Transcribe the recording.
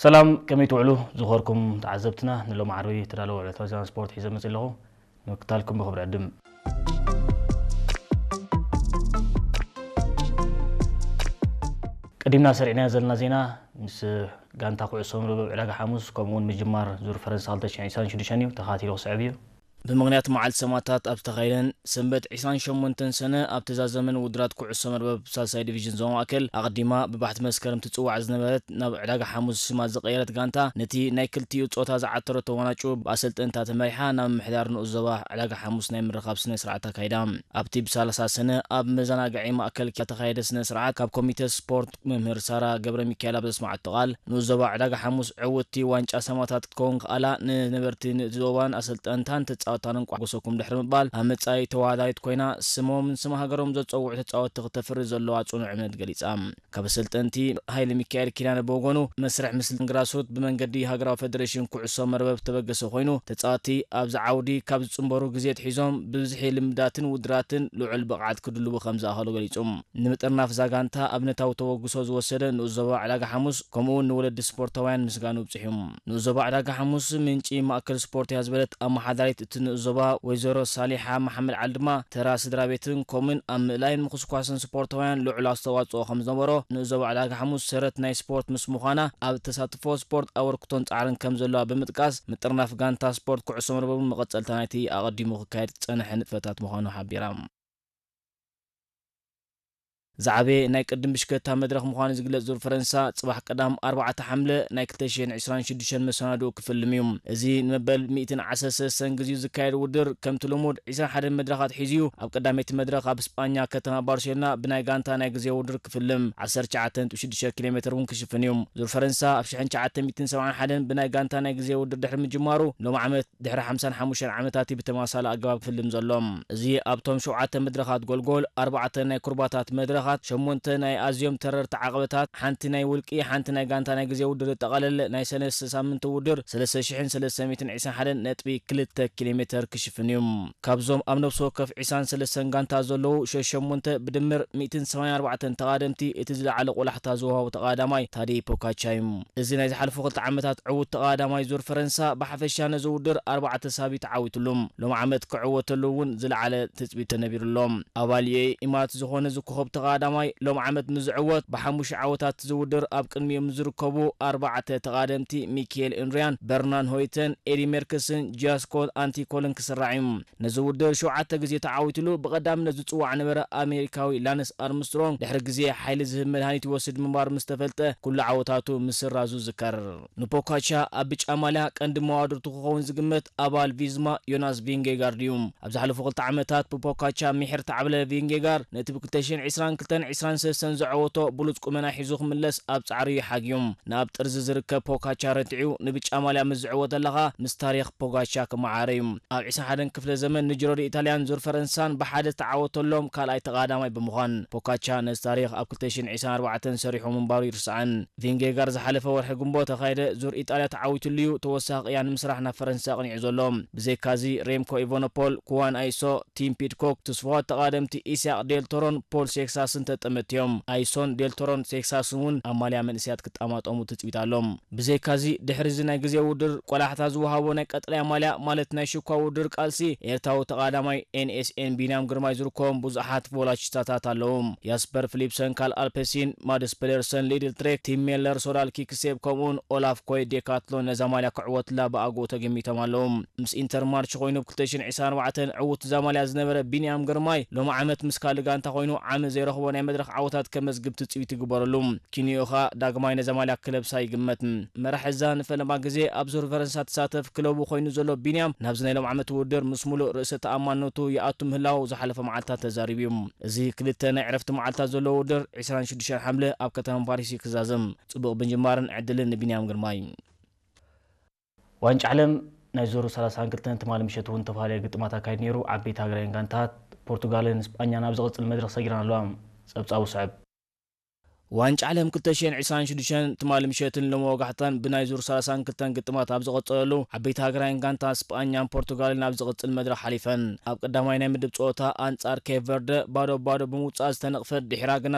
ሰላም፣ ከመይ ትውዕሉ ዝኸርኩም ተዓዘብትና? ንሎሚ ዓርቢ ተዳለወ ዕለታዊ ዜና ስፖርት ሒዘ መጽእ ኣለኹ። ንምክታልኩም ብኽብሪ ዕድም። ቀዲምና ሰሪዕናዮ ዘለና ዜና ምስ ጋንታ ኩዕሶ መርበብ ዕዳጋ ሓሙስ፣ ከምኡ እውን ምጅማር ዙር ፈረንሳ ክልተ ሽሕን ዕስራን ሽዱሽተን እዩ። ተኸታቲሉ ክስዕብ እዩ። ብምኽንያት መዓልቲ ሰማእታት ኣብ ዝተኻየደን ሰንበት ዕስራን ሸሞንተን ሰነ ኣብ ተዛዘመን ውድራት ኩዕሶ መርበብ ሳልሳይ ዲቪዥን ዞባ ማእከል ኣቐዲማ ብባሕቲ መስከረም ትጽዋዕ ዝነበረት ናብ ዕዳጋ ሓሙስ ሽማ ዝቐየረት ጋንታ ነቲ ናይ ክልቲኡ ጾታ ዝዓተረቶ ዋናጩ ብኣሰልጠንታ ተመሪሓ ናብ ምምሕዳር ንኡስ ዞባ ዕዳጋ ሓሙስ ናይ ምርኻብ ስነ ስርዓት ኣካይዳ። ኣብቲ ብሳላሳ ሰነ ኣብ መዘናግዒ ማእከል ዝተኻየደ ስነ ስርዓት ካብ ኮሚተ ስፖርት መምህር ሳራ ገብረ ሚካኤል ኣብ ዘስማዓቶ ቃል ንኡስ ዞባ ዕዳጋ ሓሙስ ዕውትቲ ዋንጫ ሰማእታት ክትከውን ክኣላ ንነበርቲ ንዞባን ኣሰልጠንታን ተጻወትታን እንቋዕ ጎሰኩም ድሕሪ ምባል ኣብ መጻኢ ተወዳዳሪት ኮይና ስሞምን ስም ሃገሮም ዘጸውዑ ተጻወትቲ ክተፍሪ ዘለዋ ጽኑዕ እምነት ገሊጻ። ካብ ኣሰልጠንቲ ሃይለ ሚካኤል ኪዳነ ብወገኑ መስርሕ ምስልን ግራስሩት ብመንገዲ ሃገራዊ ፈደሬሽን ኩዕሶ መርበብ ዝተበገሰ ኮይኑ ተጻወትቲ ኣብዚ ዓውዲ ካብ ዝጽንበሩ ግዜ ኣትሒዞም ብብዝሒ ልምዳትን ውድራትን ልዑል ብቕዓት ክድልቡ ከም ዝኣኸሉ ገሊጹ። ንምጥርናፍ እዛ ጋንታ ኣብነታዊ ተበግሶ ዝወሰደ ንኡስ ዞባ ዕዳጋ ሓሙስ ከምኡ እውን ንወለዲ ስፖርታውያን ምስጋኑ ኣብጺሑ። ንኡስ ዞባ ዕዳጋ ሓሙስ ምንጪ ማእከል ስፖርት እያ ዝበለት ኣመሓዳሪት እቲ ንኡስ ዞባ ወይዘሮ ሳሊሓ መሓመድ ዓሊ ድማ ተራ ስድራ ቤትን ከምኡን ኣብ ምእላይን ምኹስኳስን ስፖርታውያን ልዑል ኣስተዋጽኦ ከም ዝነበሮ ንኡስ ዞባ ዕዳጋ ሓሙስ ሰረት ናይ ስፖርት ምስ ምዃና ኣብ ተሳትፎ ስፖርት ኣበርክቶን ጻዕርን ከም ዘለዋ ብምጥቃስ ምጥርናፍ ጋንታ ስፖርት ኩዕሶ መርበብ እውን መቐጸልታ ናይቲ ኣቐዲሙ ክካየድ ዝጸንሐ ንጥፈታት ምዃኑ ሓቢራ። ዝዓበየ ናይ ቅድም ብሽክለታ መድረኽ ምዃኑ ዝግለጽ ዙር ፈረንሳ፣ ጽባሕ ቀዳም ኣርባዕተ ሓምለ ናይ ክልተ ሽሕን ዕስራን ሽዱሽተን መሰናድኡ ክፍልም እዩ። እዚ ንመበል ሚእትን ዓሰርተ ሰለስተን ግዜኡ ዝካየድ ውድድር፣ ከምቲ ልሙድ ዕስራን ሓደን መድረኻት ሒዙ እዩ። ኣብ ቀዳመይቲ መድረኽ ኣብ ስጳኛ ከተማ ባርሴሎና ብናይ ጋንታ ናይ ግዜ ውድድር ክፍልም፣ ዓሰርተ ትሽዓተ ነጥቢ ሽዱሽተ ኪሎ ሜትር እውን ክሽፍን እዩ። ዙር ፈረንሳ ኣብ ሽሕን ትሽዓተ ሚእትን ሰብዓን ሓደን ብናይ ጋንታ ናይ ግዜ ውድድር ድሕሪ ምጅማሩ፣ ሎም ዓመት ድሕሪ ሓምሳን ሓሙሽተን ዓመታት እዩ ብተመሳሳሊ ኣገባብ ክፍልም ዘሎ። እዚ ኣብቶም ሸውዓተ መድረኻት ጎልጎል፣ ኣርባዕተ ናይ ኩርባታት መድረኻት፣ ሸሞንተ ናይ ኣዝዮም ተረርቲ ዓቐበታት፣ ሓንቲ ናይ ውልቂ፣ ሓንቲ ናይ ጋንታ ናይ ግዜ ውድድር ዘጠቓለለ ናይ ሰለስተ ሳምንቲ ውድድር፣ ሰለስተ ሽሕን ሰለስተ ሚእትን ዕስራን ሓደን ነጥቢ ክልተ ኪሎ ሜትር ክሽፍን እዩ። ካብዞም ኣብ ነፍሲ ወከፍ ዕስራን ሰለስተን ጋንታ ዘለዉ ሸሞንተ ብድምር ሚእትን ሰማንያን ኣርባዕተን ተቓደምቲ እቲ ዝለዓለ ቆላሕታ ዝወሃቦ ተቓዳማይ ታደይ ፖካቻ እዩ። እዚ ናይ ዝሓለፉ ክልተ ዓመታት ዕዉት ተቓዳማይ ዙር ፈረንሳ ብሓፈሻ ነዚ ውድድር ኣርባዕተ ሳቢ ተዓዊትሉ። ሎም ዓመት ክዕወተሉ እውን ዝለዓለ ትጽቢት ተነቢሩሎም። ኣባል ዩኤ ኢማራት ዝኾነ እዚ ኮኸብ ተቓዳማይ ሎም ዓመት ምስ ዝዕወት ብሓሙሽተ ዓወታት ዝውድር ኣብ ቅድሚኦም ዝርከቡ ኣርባዕተ ተቓደምቲ ሚኪኤል ኢንድሪያን፣ በርናን ሆይተን፣ ኤዲ ሜርክስን ጃስኮ ኣንቲኮልን ክስራዕ እዩ። ነዚ ውድድር ሸውዓተ ግዜ ተዓዊትሉ ብቐዳምነት ዝጽዋዕ ነበረ ኣሜሪካዊ ላንስ ኣርምስትሮንግ ድሕሪ ግዜ ሓይሊ ዝህብ መድሃኒት ይወስድ ምንባሩ ምስ ተፈልጠ ኩሉ ዓወታቱ ምስራዙ ዝከር። ንፖካቻ ኣብ ብጫ ማልያ ቀንዲ መዋድርቱ ክኸውን ዝግመት ኣባል ቪዝማ ዮናስ ቪንጌጋርድ እዩ። ኣብ ዝሓለፉ ክልተ ዓመታት ብፖካቻ ምሒር ተዓብለ ቪንጌጋርድ ነቲ ብ ክልተ ሽሕን ዕስራን ክልተን ዕስራን ሰለስተን ዘዐወቶ ብሉጽ ቁመና ሒዙ ክምለስ ኣብ ጻዕሪ እዩ ሓግዩ። ናብ ጥርዚ ዝርከብ ፖካቻ ረቲዑ ንብጫ ማልያ ምስ ዝዕወተላ ኸኣ ምስ ታሪኽ ፖጋቻ ክመዓረ እዩ። ኣብ ዕስራን ሓደን ክፍለ ዘመን ንጅሮ ዲ ኢጣልያን ዙር ፈረንሳን ብሓደ ዝተዓወተሎም ካልኣይ ተቓዳማይ ብምዃን ፖካቻ ነዚ ታሪኽ ኣብ ክልተ ሽሕን ዕስራን ኣርባዕተን ሰሪሑ ምንባሩ ይርስዓን። ቪንጌጋር ዝሓለፈ ወርሒ ግንቦት ተኻየደ ዙር ኢጣልያ ተዓዊትሉ እዩ ተወሳኺ ቅያ ንምስራሕ ናብ ፈረንሳ ኣቕኒዑ ዘሎ። ብዘይካዚ ሬምኮ ኢቮኖፖል፣ ኩዋን ኣይሶ፣ ቲም ፒድኮክ፣ ትስፉዋት ተቓደምቲ ኢስያቅ ዴል ቶሮን ፖል ሴክሳስን ተጠመትቲ እዮም። ኣይሶን ዴል ቶሮን ሴክሳስን እውን ኣብ ማልያ መንእሰያት ክጣማጠሙ ትጽቢት ኣሎ። ብዘይካዚ ድሕሪ እዚ ናይ ግዜ ውድድር ቆላሕታ ዝወሃቦ ናይ ቀጠልያ ማልያ ማለት ናይ ሽኳ ውድድር ቃልሲ ኤርትራዊ ተቓዳማይ ኤንኤስኤን ቢንያም ግርማይ ዝርከቦም ብዙሓት ቮላቺስታታት ኣለዉ። ያስፐር ፊሊፕሰን፣ ካል ኣልፐሲን፣ ማድስ ፔደርሰን፣ ሊድል ትሬክ፣ ቲም ሜለር፣ ሶዳል ኪክሴብ ከምኡውን ኦላፍ ኮይ ዴካትሎን ነዛ ማልያ ክዕወትላ ብኣግኡ ተገሚቶም ኣለዉ። ምስ ኢንተር ማርች ኮይኑ ብ ክልተ ሽሕን ዕስራን ኣርባዕተን ዕዉት እዛ ማልያ ዝነበረ ቢንያም ግርማይ ሎም ዓመት ምስ ካልእ ጋንታ ኮይኑ ዓሚ ዘይረኽቦ ናይ መድረኽ ዓወታት ከመዝግብ ትጽቢት ይግበረሉ። ኪንዮኻ ዳግማይ ነዛ ማልያ ክለብሳ ይግመት። መራሕ እዛ ንፈለማ ግዜ ኣብ ዙር ፈረንሳ ትሳተፍ ክለቡ ኮይኑ ዘሎ ቢንያም ናብዚ ናይ ሎም ዓመት ውድድር ምስ ሙሉእ ርእሰ ተኣማንነቱ ይኣቱ ምህላው ዝሓለፈ መዓልታት ተዛሪቡ እዩ። እዚ ክልተ ናይ ዕረፍቲ መዓልታት ዘለዎ ውድድር ዕስራን ሽዱሽተን ሓምለ ኣብ ከተማ ፓሪስ እዩ ክዛዘም። ጽቡቕ ምጅማርን ዕድልን ንቢንያም ግርማይ። ዋንጫ ዓለም ናይ ዙር ሰላሳን ክልተን ትማሊ ምሸት እውን ተፈላለየ ግጥማት ኣካይዱ ነይሩ። ዓበይቲ ሃገራውያን ጋንታት ፖርቱጋልን ስጳኛን ኣብ ዝቕጽል መድረኽ ሰጊረን ኣለዋ። ጸብጻቡ ስዕብ። ዋንጫ ዓለም ክልተ ሽሕን ዕስራን ሽዱሽተን ትማሊ ምሸትን ሎሚ ወጋሕታን ብናይ ዙር ሰላሳን ክልተን ግጥማት ኣብ ዝቐጸለሉ ዓበይቲ ሃገራውያን ጋንታት ስጳኛን ፖርቱጋልን ኣብ ዝቕጽል መድረኽ ሓሊፈን። ኣብ ቀዳማይ ናይ ምድብ ጸወታ ኣንጻር ኬፕ ቨርደ ባዶ ባዶ ብምውጻእ ዝተነቕፈት ድሒራ ግና